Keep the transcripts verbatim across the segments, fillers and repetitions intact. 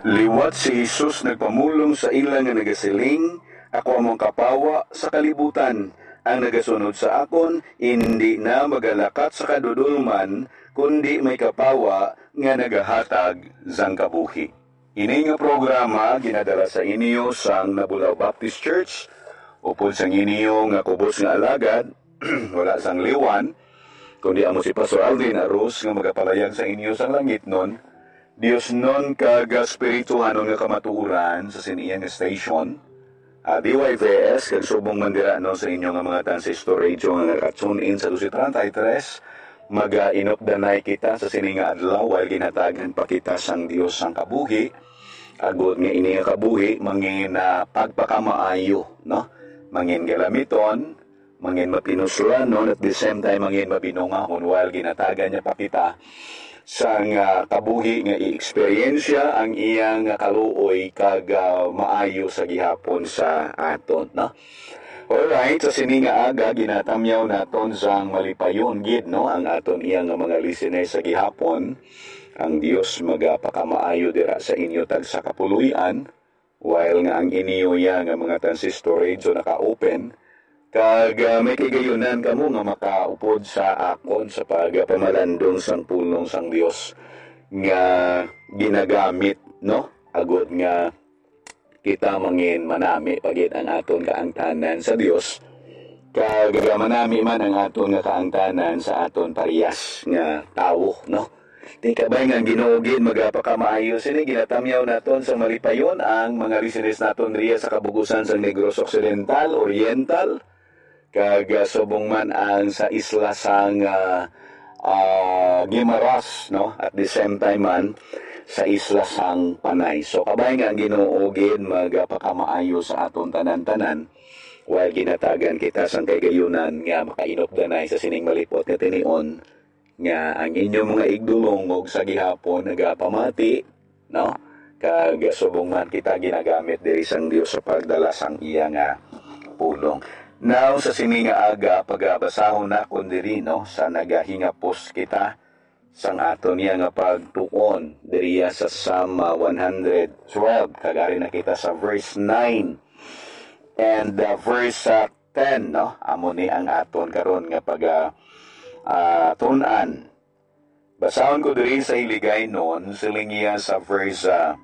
Liwat si Jesus nagpamulong sa ila nga nagasiling, "Ako amo ang kapawa sa kalibutan. Ang nagasunod sa akon, indi na magalakat sa kadudolman, kundi may kapawa nga nagahatag sang kabuhi." Ini nga programa ginadala sa inyo sang Nabulaw Baptist Church, upod sang inyo nga kubos nga alagad, wala sang liwan, kundi amo si Pastor Alvin Arroz nga magapalayag sa inyo sang langitnon, diosnon kag espirituhanon nga kamatuoran sa sini nga station, ah, D Y V S, kag subong man dira, no, sa inyo nga mga transistor radio nga naka-tune in sa dose treinta y tres, magainupdanay kita sa sini nga adlaw, while ginhatagan pa kita sang Dios sang kabuhi, agod nga ini nga kabuhi mangin, ah, pagpakamaayo, no? Mangin galamiton, mangin mapinuslan, no? At the same time, mangin mabinungahon, while ginhatagan niya pa kita sang, ah, kabuhi nga i-eksperyensya ang iya nga kaluoy kag, ah, maayo sa gihapon sa aton, no? Alright, sa sini nga aga, ginatamyaw naton sang malipayon gid, no, ang aton iya nga mga listeners sa gihapon. Ang Dios magapakamaayo dira sa inyo tagsa kapuloy-an, while nga ang inyo iya nga mga transistor radio naka-open, kag, ah, may kaigayonan kamo nga makaupod sa akon sa pagpamalandong sang pulong sang Dios nga ginagamit, no, agod nga kita mangin manami pa gid ang aton kaangtanan sa Dios, kag manami man ang aton nga kaangtanan sa aton parehas nga tawo, no? Ti kabay nga ang Ginoo gid magapakamaayo sini. Ginatamyaw naton sa malipayon ang mga listeners naton riya sa kabugusan sang Negros Occidental, Oriental, kag, ah, subong man ang sa isla sang, ah, ah, Guimaras, no? At the same time man, sa isla sang Panay. So, kabay nga ang Ginoo gid magapakamaayo sa aton tanan-tanan, while ginatagan kita sang kaigayonan nga makainupdanay sa sining malipot nga tinion, nga ang inyo mga igdulong ug sa gihapon nagapamati, no? Kag subong man kita ginagamit diri sang Dios sa pagdala sang iya nga pulong. Now, sa sini nga aga, pagabasahon nakon diri, no, sa nagahingapos kita sang aton niya nga pagtuon diriya sa Psalm, ah, one hundred twelve, kag ari na kita sa verse nine and, ah, verse, ah, ten, no? Amo ni ang aton karon nga pag, ah, ah, tun-an. Basahon ko diri sa Hiligaynon, siling niya sa verse, ah,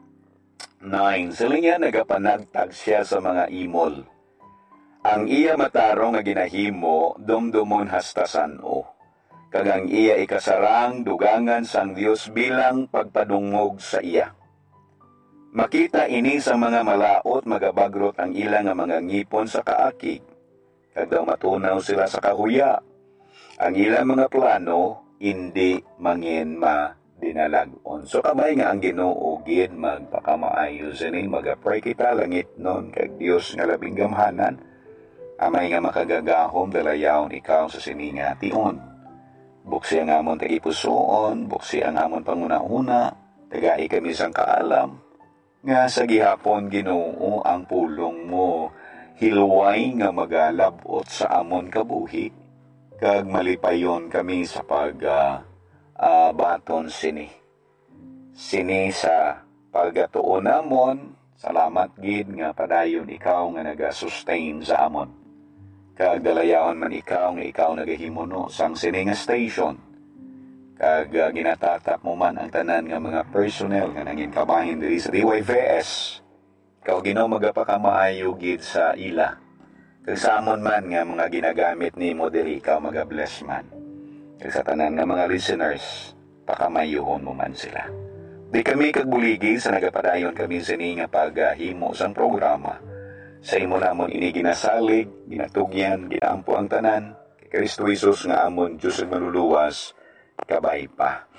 nine. Siling niya, "Nagapanagtag siya sa mga imol. Ang iya matarong nga ginahimo, dumdumon hasta san-o. Kag ang iya ikasarang, dugangan sang Dios bilang pagpadungog sa iya." Makita ini sa mga malaut, magabagrot ang ila nga mga ngipon sa kaakig, kag daw matunaw sila sa kahuya. Ang ila mga plano indi mangin madinalag-on. So, kabay nga ang Ginoo gid magpakamaayo sini, maga-pray kita, langitnon kag Dios nga labing gamhanan. Amay nga makagagahom, dalayawon ikaw sa sini nga tion. Buksi ang amon tagipusoon, buksi ang amon panghunahuna, tagai kami sang kaalam, nga sa gihapon, Ginoo, ang pulong mo hilway nga magalab-ot sa amon kabuhi, kag malipayon kami sa pag, ah, ah, baton sini. Sini sa pagatuon namon, salamat gid nga padayon ikaw nga nagasustain sa amon. Kag dalayawon man ikaw nga ikaw nagahimuno sang sini nga station. Kag, ah, ginatatap mo man ang tanan nga mga personnel nga nangin kabahin diri sa D Y V S. Ikaw, Ginoo, magapakamaayo gid sa ila. Kag sa amon man nga mga ginagamit nimo diri, ikaw magabless man. Kag sa tanan nga mga listeners, pakamayuhon mo man sila. Di kami kag buligi sa nagapadayon kami sini nga paghimo sang programa. Sa imo namon ini ginasalig, ginatugyan, ginaampo ang tanan, kay Cristo Jesus nga amon Dios ug Manluluwas, kabay pa.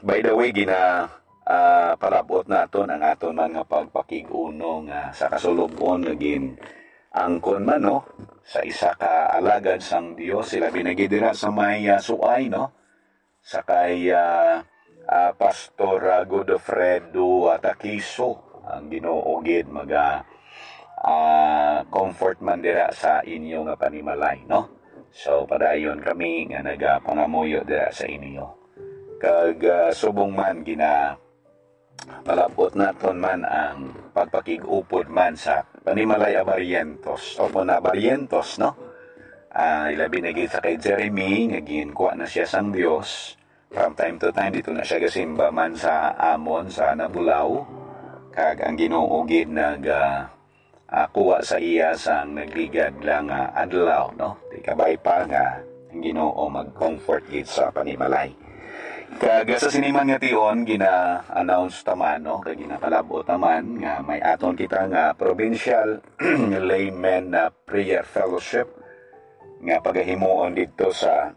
By the way, gina, ah, palab-ot naton ang aton man nga pagpakig-uno nga sa kasulog-on nga gin-angkon man, no, sa isa ka alagad sang Dios, sila binagi dira sa may, ah, Suay, no, sa kay, ah, ah, Pastor, ah, Godofredo, ah, Taquizo. Ang Ginoo gid maga, ah, comfort man dira sa inyo nga panimalay, no? So, padayon kami nga nagapangamuyo dira sa inyo. Kag, ah, subong man gina, Palabot naton man ang pagpakig-upod man sa panimalay a Barrientos, o kon na Barrientos, no? Ah, ilabi na gid sa kay Jeremy, nga ginkuha na siya sang Dios. From time to time, dito na siya gasimba man sa amon, sa Nabulaw. Kag ang Ginoo gid nag, ah, ah, kuha sa iya sang nagligad lang nga adlaw, no? Di kabay pa nga ang Ginoo mag-comfort gid sa panimalay. Kag sa sini man nga tion, gina-announce ta man, no? Kag ginapalab-ot ta man nga may aton kita nga provincial laymen na prayer fellowship nga pagahimuon didto sa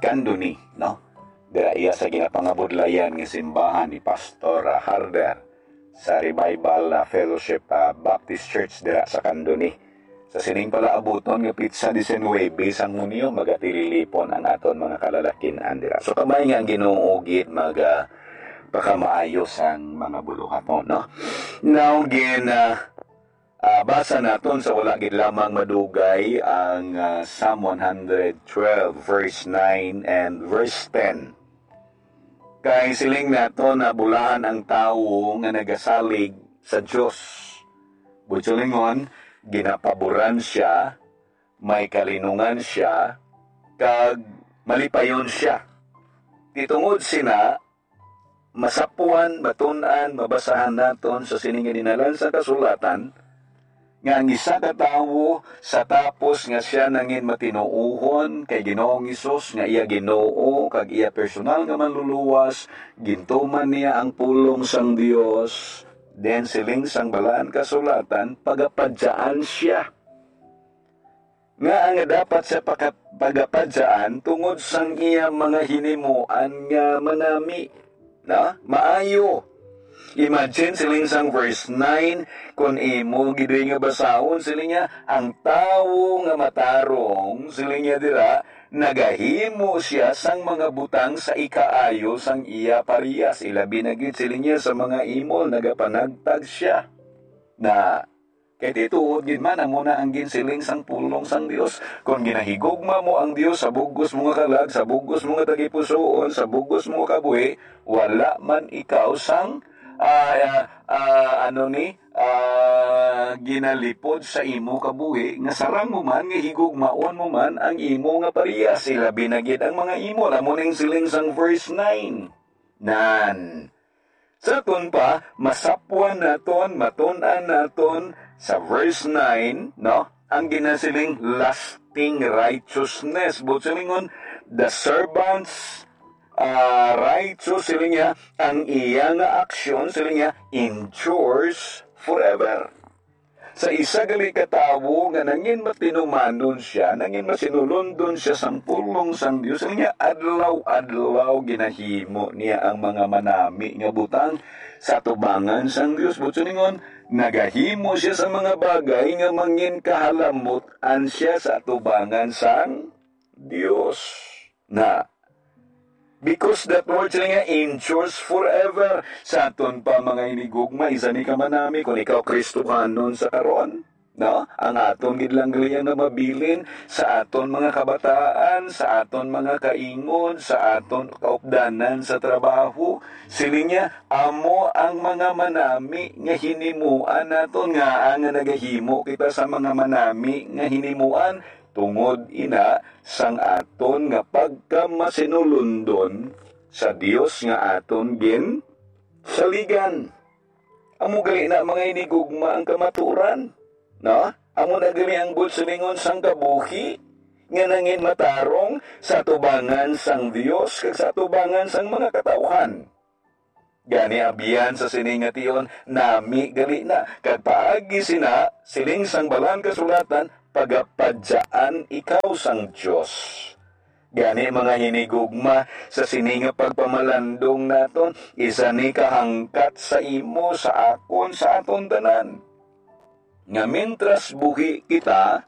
Candoni, no? Dira iya sa ginapangabudlayan nga simbahan ni Pastor, ah, Harder sa Revival, ah, Fellowship, ah, Baptist Church dira sa Candoni. Sa sining palaabuton nga pitsa diecinuebe sang Hunyo, magatililipon ang aton mga kalalakin-an dira. So, kabay nga ang Ginoo gid mag, ah, pakamaayo sang mga buluhaton, no? Now, gin, ah, ah, basa naton sa wala gid lamang madugay ang, ah, Psalm one hundred twelve, verse nine and verse ten. Kay siling naton na bulahan ang tawo nga nagasalig sa Dios. Buot silingon, ginapaboran sia, may kalinungan sia, kag malipayon sia. Di tungod sina, masapwan, matun-an, mabasahan naton sa sini nga dinalan sa kasulatan, nga ang isa ka tawo, sa tapos nga sia nangin matinuohon kay Ginoong Hesus nga iya Ginoo kag iya personal nga Manluluwas, gintuman niya ang pulong sang Dios. Then siling sang Balaan Kasulatan, pagapadyaan sia. Nga nga dapat sa paka-, pagapadyaan tungod sang iya mga hinimuan nga manami, na maayo. Imagine, siling sang verse nine, kung imo gid nga basahon, siling niya, ang tawo nga matarong, siling niya dira, nagahimo sia sang mga butang sa ikaayo sang iya parehas. Ilabi na gid, siling niya, sa mga imol, nagapanagtag sia. Na, kay ti tuod gid man, amo na ang ginsiling sang pulong sang Dios. Kon ginahigugma mo ang Dios sa bug-os mo nga kalag, sa bug-os mo nga tagipusoon, sa bug-os mo nga kabuhi, wala man ikaw sang, ah, ah, ah, ano ni, ah, ginalipod sa imo kabuhi, nga sarang mo man, nga higugmaon mo man ang imo nga parehas, ilabi na gid ang mga imol. Amo ning siling sang verse nine. Nan. Sa aton pa, masapwan naton, matun-an naton sa verse nine, no? Ang ginasiling lasting righteousness. Buot silingon, the servant's, ah, righteous, siling niya, ang iya nga aksyon, siling niya, endures forever. Sa isa gali ka tawo nga nangin matinumanon sia, nangin masinulundon sia sang pulong sang Dios, niya adlaw-adlaw ginahimo niya ang mga manami nga butang sa atubangan sang Dios. Buot silingon, nagahimo sia sa mga bagay nga mangin kahalamot-an sia sa atubangan sang Dios. Na, because that word sila nga endures forever. Sa aton pa, mga hinigugma, isa ni ka manami, kung ikaw Kristohanon sa karon, no? Ang aton gid lang gali nga mabilin sa aton mga kabataan, sa aton mga kaingon, sa aton kaupdanan sa trabaho. Siling niya, amo ang mga manami nga hinimuan naton, nga ang nagahimo kita sa mga manami nga hinimuan, tungod ina sang aton nga pagkamasinulundon sa Dios nga aton ginsaligan. Amo gali na, mga hinigugma, ang kamaturan, no? Amo na gali ang buot silingon sang kabuhi nga nangin matarong sa atubangan sang Dios kag sa atubangan sang mga katawhan. Gani, abyan sa sini nga tion, nami gali na, kag paagi sina, siling sang Balaan Kasulatan, pagapadyaan ikaw sang Dios. Gani, mga hinigugma, sa sini nga pagpamalandong naton, isa ni kahangkat sa imo, sa akon, sa aton tanan, nga mintras buhi kita,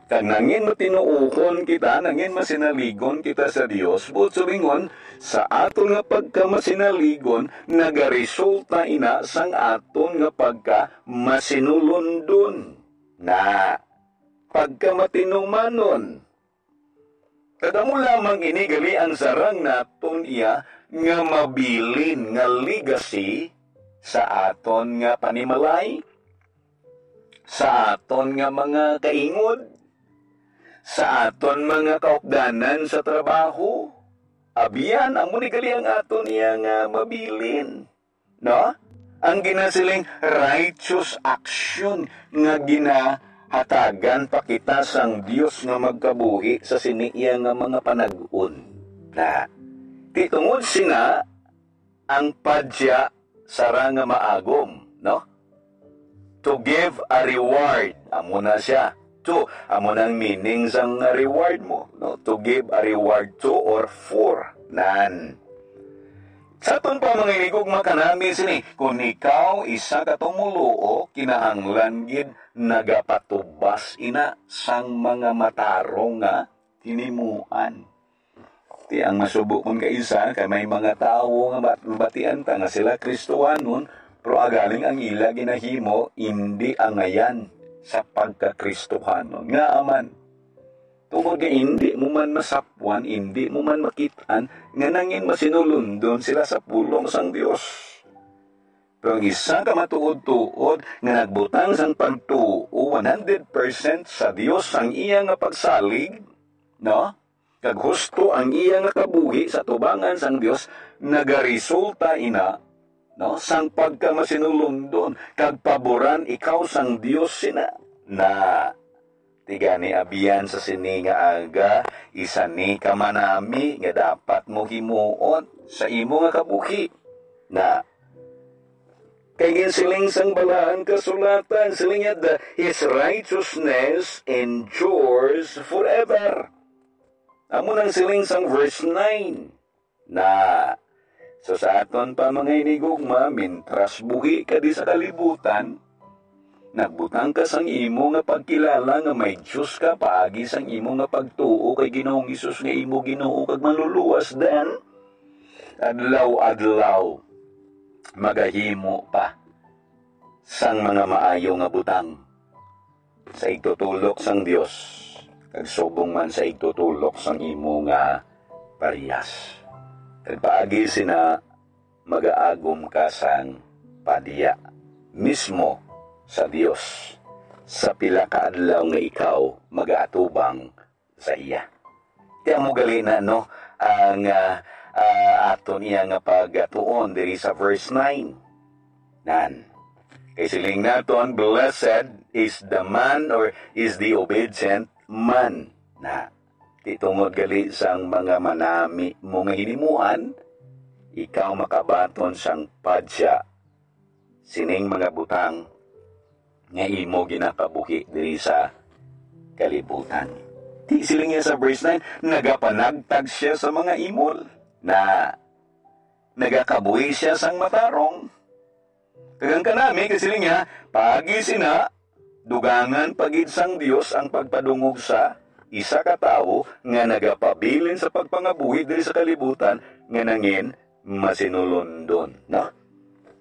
kag nangin matinuohon kita, nangin masinaligon kita sa Dios, buot silingon, sa aton nga pagkamasinaligon, nagaresulta ina sang aton nga pagkamasinulundon. Na, pagkamatinumanon. Kag amo lamang ini gali ang sarang naton iya nga mabilin nga legacy sa aton nga panimalay, sa aton nga mga kaingod, sa aton mga kaupdanan sa trabaho. Abyan, amo ni gali ang aton iya nga mabilin, no? Ang ginasiling righteous action nga ginahatagan pa kita sang Dios nga magkabuhi sa sini iya nga mga panag-on. Na, ti tungod sina ang padya sara nga maagom, no? To give a reward, amo na siya. To, amo nang meaning sang reward mo, no? To give a reward to or for. Nan. Sa aton pa, mga inigugma, kanami sini, kung ikaw isa ka tumoluo, kinahanglan gid nagapatubas ina sang mga matarong nga hinimuan. Ti ang masubo kon kaisa, kay may mga tawo nga bat-, batian ta nga sila Kristohanon, pero agaling ang ila ginahimo indi angayan sa pagka-Kristohanon. Ngaa man? Tungod nga indi mo man masapwan, indi mo man makit-an nga nangin masinulundon sila sa pulong sang Dios. Pero ang isa ka matuod-tuod nga nagbutang sang pagtuo one hundred percent sa Dios sang iya nga pagsalig, no? Kag husto ang iya nga kabuhi sa tubangan sang Dios, nagaresulta ina, no, sang pagkamasinulundon, kag paboran ikaw sang Dios sina. Na, ti gani abyan sa sini nga aga, isa ni ka manami nga dapat mo himuon sa imo nga kabuhi. Na, kay ginsiling sang Balaan Kasulatan, siling niya, "The, his righteousness endures forever." Amo nang siling sang verse nine. Na, so sa aton pa, mga inigugma, mintras buhi ka di sa kalibutan, nagbutang ka sang imo nga pagkilala nga may Dios ka paagi sang imo nga pagtuo kay Ginoong Hesus nga imo Ginoo kag Manluluwas, then adlaw-adlaw magahimo pa sang mga maayo nga butang sa igtutulok sang Dios, kag subong man sa igtutulok sang imo nga parehas. Kag paagi sina, magaagom ka sang padya mismo sa Dios sa pila ka adlaw nga ikaw magaatubang sa iya. Ti amo gali na, no, ang, ah, ah, aton iya nga pagatuon diri sa verse nine. Nan. Kay siling naton, "Blessed is the man or is the obedient man." Na, ti tungod gali sang mga manami mo nga hinimuan, ikaw makabaton sang padya sining mga butang nga imo ginakabuhi diri sa kalibutan. Ti siling niya sa verse nine, nagapanagtag siya sa mga imol, na nagakabuhi siya sang matarong. Kag ang kanami, kay siling niya, paagi sina, dugangan pa gid sang Dios ang pagpadungog sa isa ka tawo nga nagapabilin sa pagpangabuhi diri sa kalibutan nga nangin masinulundon, no?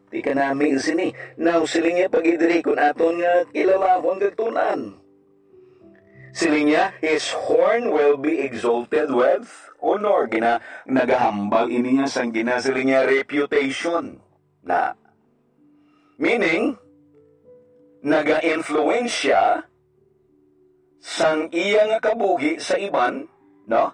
Ti kanami sini. Now, siling niya pag-idiri kun aton nga kilalahon kag tun-an. Siling niya, "His horn will be exalted with honor." Gina-, nagahambal ini niya sang gina-, siling niya, reputation. Na, meaning, naga-influensya sang iya nga kabuhi sa iban, no?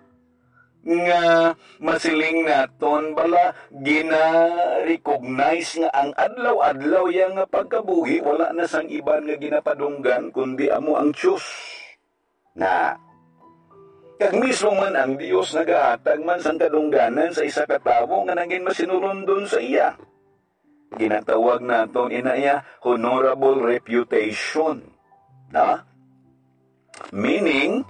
Nga masiling naton bala, gina-recognize nga ang adlaw-adlaw iya nga pagkabuhi wala na sang iban nga ginapadunggan, kundi amo ang Dios. Na, kag mismo man ang Dios nagahatag man sang kadungganan sa isa ka tawo nga nangin masinulundon sa iya. Ginatawag naton ina iya honorable reputation. Na? Meaning,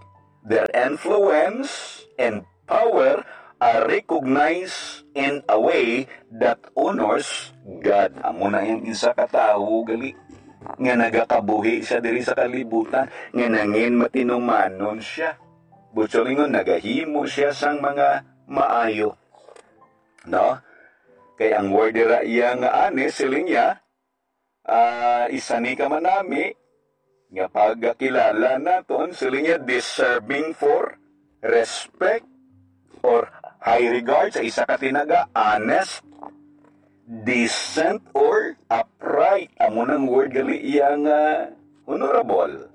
their influence and power are recognized in a way that honors God. Amo na ang isa ka tawo gali nga nagakabuhi siya diri sa kalibutan, nga nangin matinumanon siya. Butsolingon, nagahimo siya sang mga maayo. No? Kay ang word dira iya nga ani, siling niya, ah, isa ni ka manami nga pagkakilala naton, siling niya, deserving for respect or high regard, sa isa ka tinaga, honest, decent, or upright. Amo nang word gali iya nga honorable.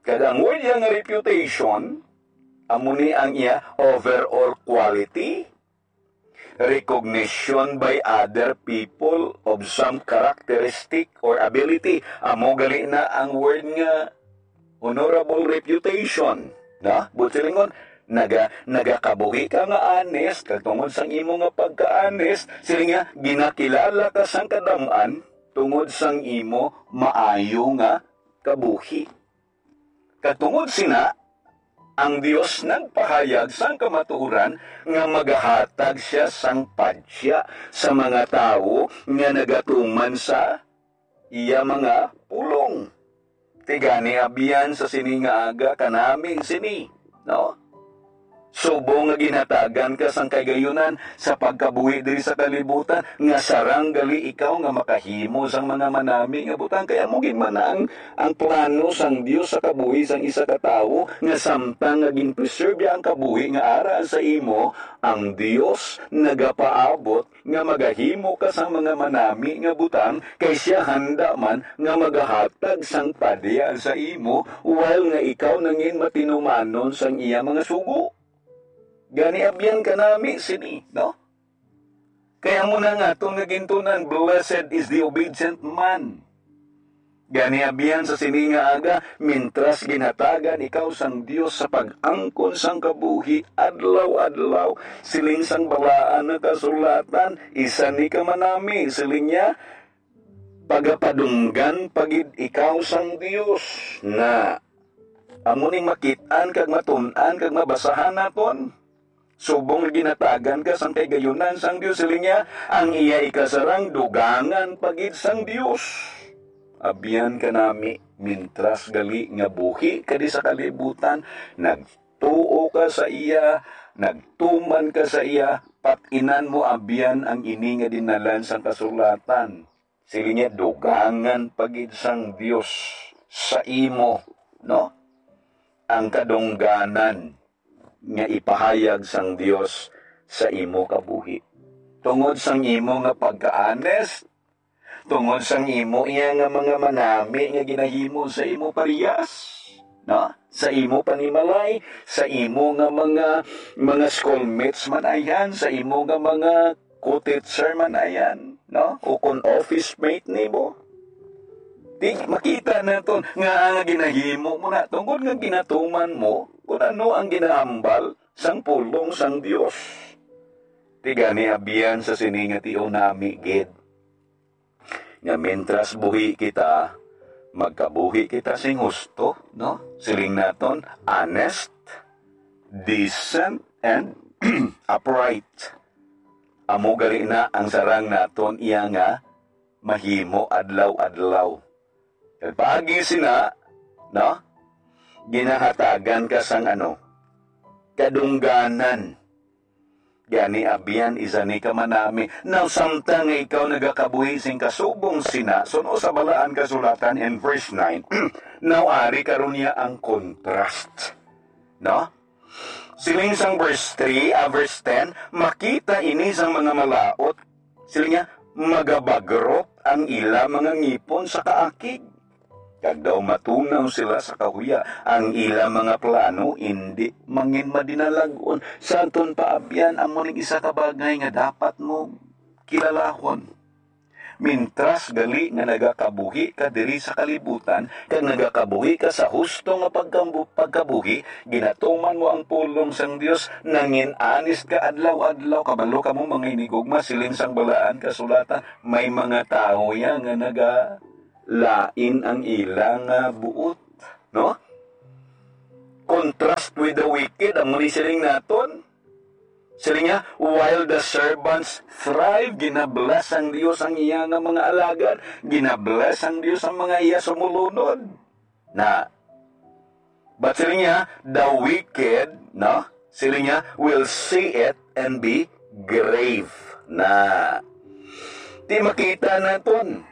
Kag ang word iya nga reputation, amo ni ang iya overall quality, recognition by other people of some characteristic or ability. Amo gali na ang word nga honorable reputation, no? Buot silingon, naga-, nagakabuhi ka nga honest, kag tungod sang imo nga pagka-honest, siling niya, ginakilala ka sang kadam-an tungod sang imo maayo nga kabuhi. Kag tungod sina, ang Dios nagpahayag sang kamatuoran nga magahatag sia sang padya sa mga tawo nga nagatuman sa iya mga pulong. Ti gani, abyan sa sini nga aga kanami sini, no? Subong nga ginhatagan ka sang kahigayunan sa pagkabuhi diri sa kalibutan, nga sarang gali ikaw nga makahimo sang mga manami nga butang. Kay amo gid man ang, ang plano sang Dios sa kabuhi sang isa ka tawo, nga samtang nga gin-preserve niya ang kabuhi nga ara sa imo, ang Dios nagapaabot nga magahimo ka sang mga manami nga butang, kay sia handa man nga magahatag sang padya sa imo, while nga ikaw nangin matinumanon sang iya mga sugo. Gani, abyan kanami sini, no? Kay amo na nga aton nga gintunan, "Blessed is the obedient man." Gani, abyan sa sini nga aga, mintras ginhatagan ikaw sang Dios sa pag-angkon sang kabuhi adlaw-adlaw, siling sang balaan nga kasulatan, isa ni ka manami, siling niya, pagapadunggan pa gid ikaw sang Dios. Na, amo ning makit-an kag matun-an kag mabasahan naton. Subong nga ginhatagan ka sang kahigayunan sang Dios, siling niya, ang iya ikasarang dugangan pa gid sang Dios. Abyan kanami, mintras gali nga buhi ka di sa kalibutan, nagtuo ka sa iya, nagtuman ka sa iya, pat-inan mo abyan ang ini nga dinnalan sang kasulatan. Siling niya, dugangan pa gid sang Dios sa imo, no? Ang kadungganan nga ipahayag sang Dios sa imo kabuhi. Tungod sang imo nga pagka-honest, tungod sang imo iya nga mga manami nga ginahimo sa imo parehas, no? Sa imo panimalay, sa imo nga mga, mga schoolmates man ayan, sa imo nga mga co-teacher man ayan, no? O kon office mate nimo. Di makita naton nga ang ginahimo mo na tungod nga ginatuman mo kung ano ang ginahambal sang pulong sang Dios. Ti gani, abyan sa sini nga tion nami gid, nga mintras buhi kita, magkabuhi kita sing husto, no? Siling naton, honest, decent, and upright. Amo gali na ang sarang naton iya nga mahimo adlaw-adlaw. Kag paagi sina, no? Ginahatagan ka sang ano? Kadungganan. Gani, abyan, isa ni ka manami. Now, samtang nga ikaw nagakabuhi sing kasubong sina, suno sa Balaan Kasulatan in verse nine, now, ari karon niya ang contrast. No? Siling sang verse three, ah, verse ten, makita ini sang mga malaut. Siling niya, magabagrot ang ila mga ngipon sa kaakig. Kag daw matunaw sila sa kahuya, ang ila mga plano indi mangin madinalag-on. Sa aton paabyan, amo ning isa ka bagay nga dapat mo kilalahon. Mintras gali nga nagakabuhi ka diri sa kalibutan, kag nagakabuhi ka sa husto nga pagkambu-, pagkabuhi, ginatuman mo ang pulong sang Dios, nangin-anis ka adlaw-adlaw, kabalo kamo, mga hinigugma, siling sang Balaan Kasulatan, may mga tawo ya nga nagalain ang ila nga buot, no? Contrast with the wicked, amo ni siling naton. Siling niya, "While the servants thrive," ginabless ang Dios ang iya nga mga alagad, ginabless ang Dios ang mga iya sumulunod. Na, but siling niya, "The wicked," no? Siling niya, "will see it and be grave." Na, ti makita naton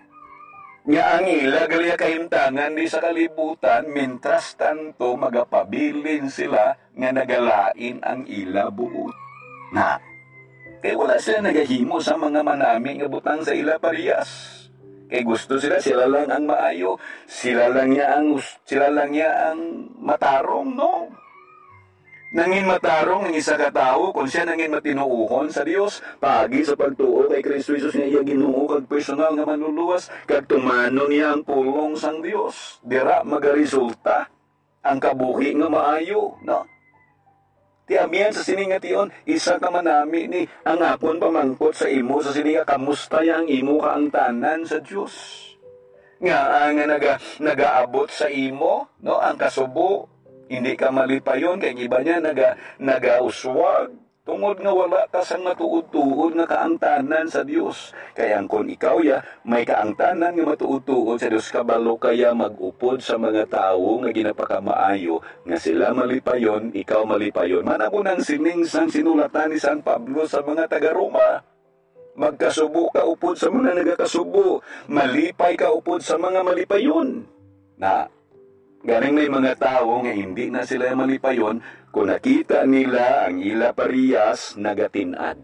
nga ang ila gali kahimtangan di sa kalibutan, mintras tanto magapabilin sila nga nagalain ang ila buot. Na, kay wala sila nagahimo sa mga manami nga butang sa ila parehas. Kay gusto sila, sila lang ang maayo, sila lang niya ang us-, sila lang niya ang matarong, no? Nangin matarong ang isa ka tawo kon siya nangin matinuohon sa Dios, paagi sa pagtuo kay Kristo Jesus nga iya Ginoo kag personal nga Manluluwas, kag tumanon niya ang pulong sang Dios. Dira magaresulta ang kabuhi nga maayo, no? Ti abyan sa sini nga tion, isa ka manami ni ang akon pamangkot sa imo sa sini nga, kamusta ya ang imo kaangtanan sa Dios? Nga, ah, nga naga-, nagaabot sa imo, no, ang kasubo, hindi ka malipayon, kay ang iba niya naga-, nagauswag, tungod nga wala ka sang matuod-tuod nga kaangtanan sa Dios. Kay ang kon ikaw ya may kaangtanan nga matuod-tuod sa Dios, kabalo ka ya mag-upod sa mga tawo nga ginapakamaayo, nga sila malipayon, ikaw malipayon. Manabo nang sining sang sinulatan ni San Pablo sa mga taga-Roma. Magkasubo ka upod sa mga nagakasubo, malipay ka upod sa mga malipayon. Na, ganing may mga tawo nga hindi na sila malipayon kung nakita nila ang ila parehas nagatin-ad.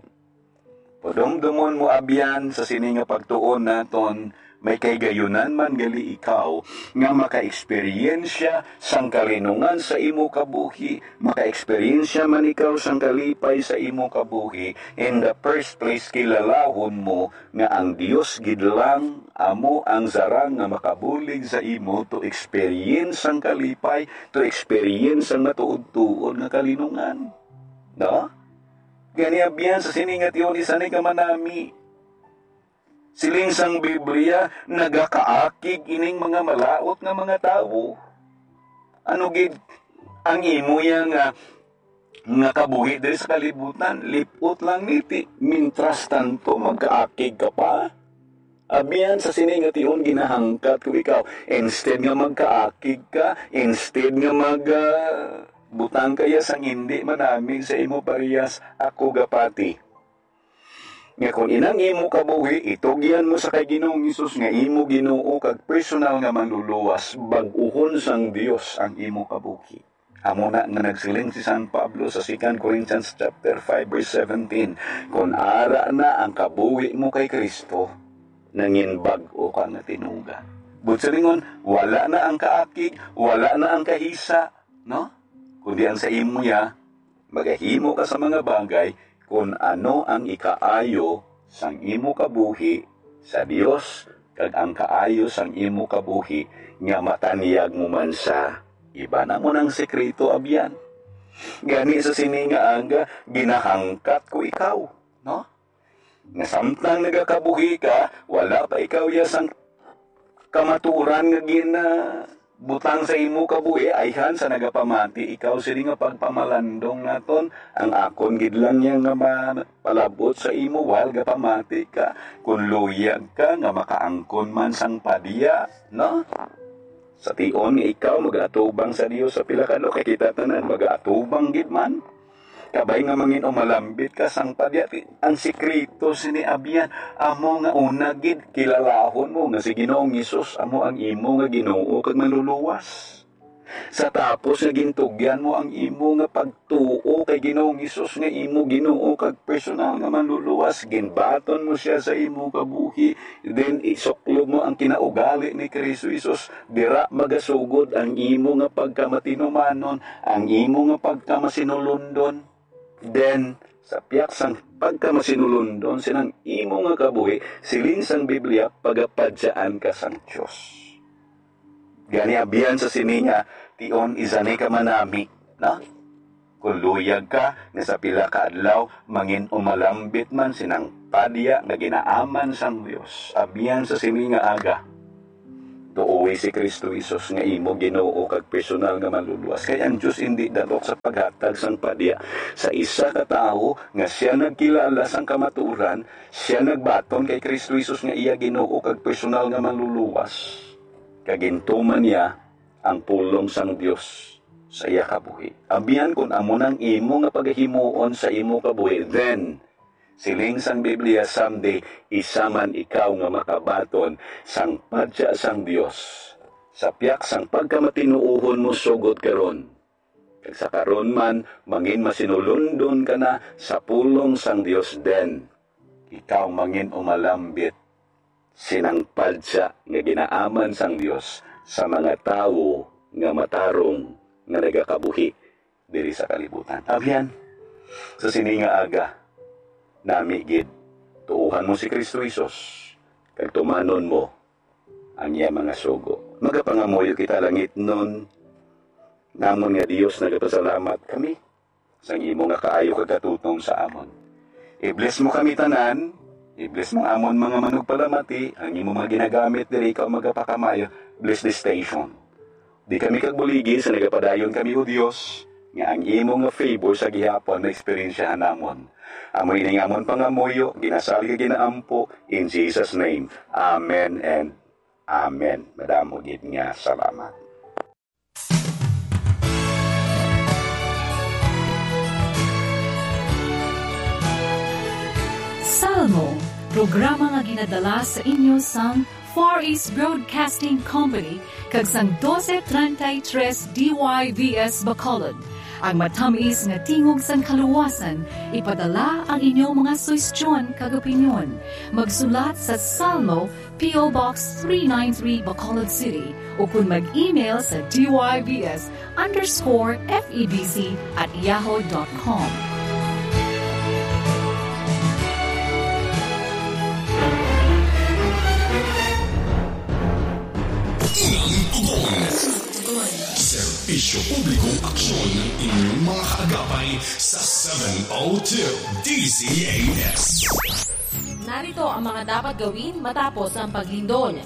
Padumdomon mo, abyan, sa sini nga pagtuon naton, may kahigayonan man gali ikaw nga makaeksperyensya sang kalinungan sa imo kabuhi, makaeksperyensya man ikaw sang kalipay sa imo kabuhi. In the first place, kilalahon mo nga ang Dios gid lang amo ang sarang nga makabulig sa imo to experience sang kalipay, to experience sang matuod-tuod nga kalinungan. No? Gani, abyan, sa sini nga tion, isa ni ka manami. Siling sang Biblia, nagakaakig ining mga malaut nga mga tawo. Ano gid ang imo ya nga, nga kabuhi diri sa kalibutan? Lip-ot lang ni, ti, mientras tanto, magkaakig ka pa. Abyan, sa sini nga tion, ginahangkat ko ikaw. Instead nga magkaakig ka, instead nga mag, ah, butang ka ya sang hindi manami sa imo parehas, ako gapati nga kon inang imo kabuhi, itugyan mo sa kay Ginoong Hesus nga imo Ginoo kag personal nga Manluluwas, bag-uhon sang Dios ang imo kabuhi. Amo na nga nagsiling si San Pablo sa Second Corinthians chapter five, verse seventeen, "Kon ara na ang kabuhi mo kay Cristo, nangin bag-o ka nga tinuga." Buot silingon, wala na ang kaakig, wala na ang kahisa, no? Kundi ang sa imo ya, magahimo ka sa mga bagay kon ano ang ikaayo sang imo kabuhi sa Dios, kag ang kaayo sang imo kabuhi nga matanyag mo man sa iba. Amo nang sekreto, abyan. Gani sa sini nga aga, ginahangkat ko ikaw, no? Nga samtang nagakabuhi ka, wala pa ikaw ya sang kamatuoran nga gin, ah, butang sa imo kabuhi, ayhan sa nagapamati ikaw sini nga pagpamalandong naton, ang akon gid lang niya nga ma-, palabot sa imo, while gapamati ka, kung luyag ka nga makaangkon man sang padya, no? Sa tion nga ikaw mag-atubang sa Dios sa pila ka adlaw, kay kita tanan mag-atubang gid man. Kabay nga mangin umalambit ka sang padya, ti-, ang sikreto sini, abyan, amo nga una gid, kilalahon mo nga si Ginoong Hesus amo ang imo nga Ginoo kag Manluluwas. Sa tapos nga gintugyan mo ang imo nga pagtuo kay Ginoong Hesus nga imo Ginoo kag personal nga Manluluwas, ginbaton mo sia sa imo kabuhi, then isuklob mo ang kinaugali ni Cristo Jesus, dira magasugod ang imo nga pagkamatinumanon, ang imo nga pagkamasinulundon. Then, sa piyak sang pagkamasinulundon sinang imo nga kabuhi, siling sang Biblia, pagapadyaan ka sang Dios. Gani, abyan, sa sini nga tion, isa ni ka manami, na? Kung luyag ka nga sa pila ka adlaw mangin umalambit man sinang padya nga ginaaman sang Dios, abyan, sa sini nga aga, tuoy si Cristo Jesus nga imo Ginoo kag personal nga Manluluwas. Kay ang Dios indi dalok sa paghatag sang padya sa isa ka tawo nga sia nagkilala sang kamatuoran, sia nagbaton kay Cristo Jesus nga iya Ginoo kag personal nga Manluluwas, kag gintuman niya ang pulong sang Dios sa iya kabuhi. Abyan, kun amo nang imo nga pagahimuon sa imo kabuhi, then, siling sang Biblia, someday, isa man ikaw nga makabaton sang padya sang Dios, sa piyak sang pagkamatinuohon mo sugod karon, Kag sa karon man, mangin masinulundon ka na sa pulong sang Dios, den ikaw mangin umalambit sinang padya nga ginaaman sang Dios sa mga tawo nga matarong nga nagakabuhi diri sa kalibutan. Abyan, sa sini nga aga, nami gid, tuohan mo si Kristo Jesus, kag tumanon mo ang iya mga sugo. Magapangamuyo kita, langitnon namon nga Dios, nagapasalamat kami sang imo nga kaayo kag katutom sa amon. I-bless mo kami tanan, i-bless mo amon mga manugpalamati, ang imo mga ginagamit diri ikaw magapakamayo. Bless this station. Di kami kagbuligi sa nagapadayon kami, O Dios, nga ang imo nga favor sa gihapon maeksperiensyahan namon. Amo ini nga amon pangamuyo, ginasalig kag ginaampo, in Jesus' name. Amen and amen. Madamo gid nga salamat. Salmo, programa nga ginadala sa inyo sang Far East Broadcasting Company kag sang doce treinta y tres D Y V S Bacolod. Ang matamis nga tingog sang kaluwasan, ipadala ang inyong mga suhestyon kag opinyon. Magsulat sa Salmo, P O Box three nine three, Bacolod City, o kun mag-email sa D Y V S underscore F E B C at yahoo dot com. Unang tugon. Serbisyo Publikong Aksyon ng inyong mga kaagapay sa seven oh two D Z A S. Narito ang mga dapat gawin matapos ang paglindol.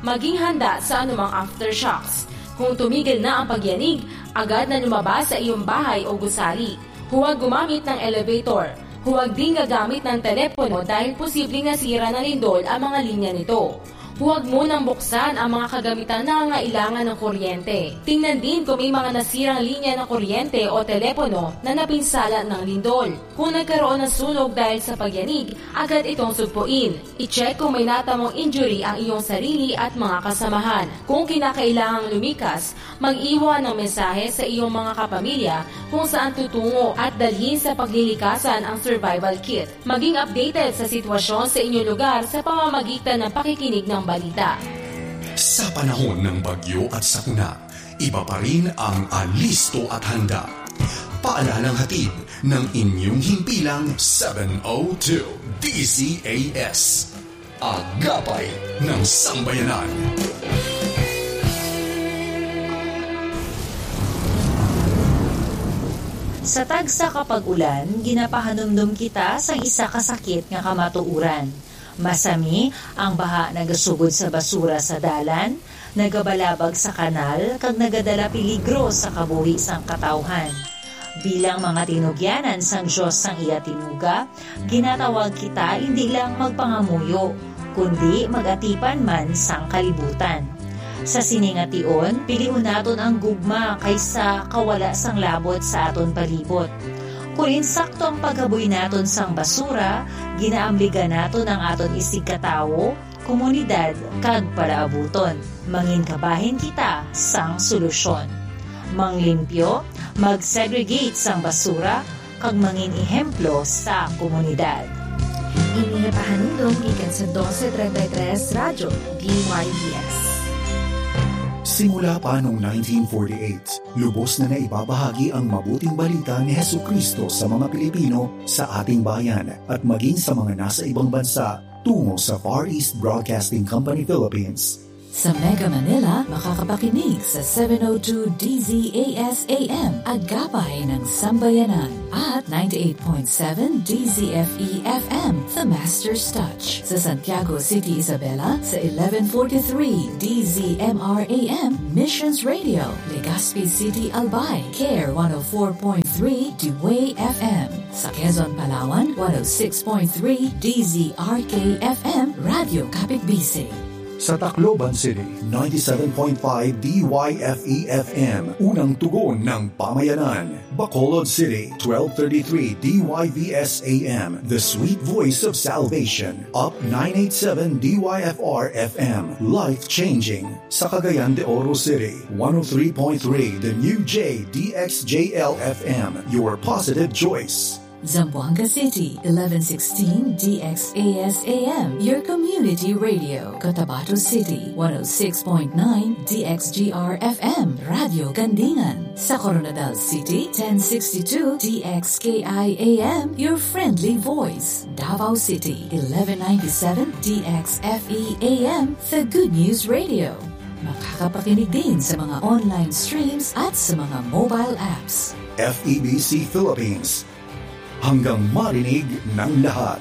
Maging handa sa anumang aftershocks. Kung tumigil na ang pagyanig, agad na lumabas sa iyong bahay o gusali. Huwag gumamit ng elevator. Huwag din gagamit ng telepono dahil posibleng nasira ng lindol ang mga linya nito. Huwag munang buksan ang mga kagamitan na nangangailangan ng kuryente. Tingnan din kung may mga nasirang linya ng kuryente o telepono na napinsala ng lindol. Kung nagkaroon ng sunog dahil sa pagyanig, agad itong sugpuin. I-check kung may natamong injury ang iyong sarili at mga kasamahan. Kung kinakailangang lumikas, mag-iwan ng mensahe sa iyong mga kapamilya kung saan tutungo at dalhin sa paglilikasan ang survival kit. Maging updated sa sitwasyon sa inyong lugar sa pamamagitan ng pakikinig ng balita. Sa panahon ng bagyo at sakuna, iba pa rin ang alisto at handa. Paalalang hatid ng inyong himpilang seven oh two D Z A S. Agapay ng Sambayanan. Sa tagsa ka pag-ulan, ginapahanumdom kita sang isa ka sakit nga kamatuoran. Masami, ang baha nagasugod sa basura sa dalan, nagabalabag sa kanal, kag nagadala peligro sa kabuhi sang katawhan. Bilang mga tinugyanan sang Dios sang iya tinuga, ginatawag kita indi lang magpangamuyo, kundi mag-atipan man sang kalibutan. Sa sini nga tion, pilion naton ang gugma kaysa kawala sang labot sa aton palibot. Kon insakto ang paghaboy naton sang basura, ginaamligan naton ang aton isigkatawo, komunidad, kag palaabuton. Mangin kabahin kita sang solusyon. Manglimpyo, mag-segregate sang basura, kag mangin ehemplo sa komunidad. Ini nga pahanumdom gikan sa Doce Treinta y Tres Radyo, D Y V S. Simula pa noong nineteen forty-eight, lubos na naibabahagi ang mabuting balita ni Jesu-Cristo sa mga Pilipino sa ating bayan at maging sa mga nasa ibang bansa tungo sa Far East Broadcasting Company Philippines. Sa Mega Manila, makakapakinig sa seven oh two D Z A S A M, Agapay ng Sambayanan, at ninety-eight point seven D Z F E F M, The Master's Touch. Sa Santiago City, Isabela, sa eleven forty-three D Z M R A M, Missions Radio, Legazpi City, Albay, Care one oh four point three, Dway F M. Sa Quezon, Palawan, one oh six point three D Z R K F M, Radyo Kapitbisig. Sa Tacloban City, ninety-seven point five D Y F E F M, unang tugon ng pamayanan. Bacolod City, twelve thirty-three D Y V S A M, the sweet voice of salvation. Up nine eight seven D Y F R F M, life-changing. Sa Cagayan de Oro City, one oh three point three The New J D X J L F M, your positive choice. Zamboanga City, eleven sixteen D X A S A M, your community radio. Cotabato City, one oh six point nine D X G R F M, Radio Gandingan. Sa Koronadal City, ten sixty-two D X K I A M, your friendly voice. Davao City, eleven ninety-seven D X F E A M, the good news radio. Makakapakinig din sa mga online streams at sa mga mobile apps. F E B C Philippines, hanggang marinig ng lahat.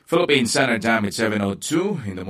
Philippine Standard Time, it's seven oh two in the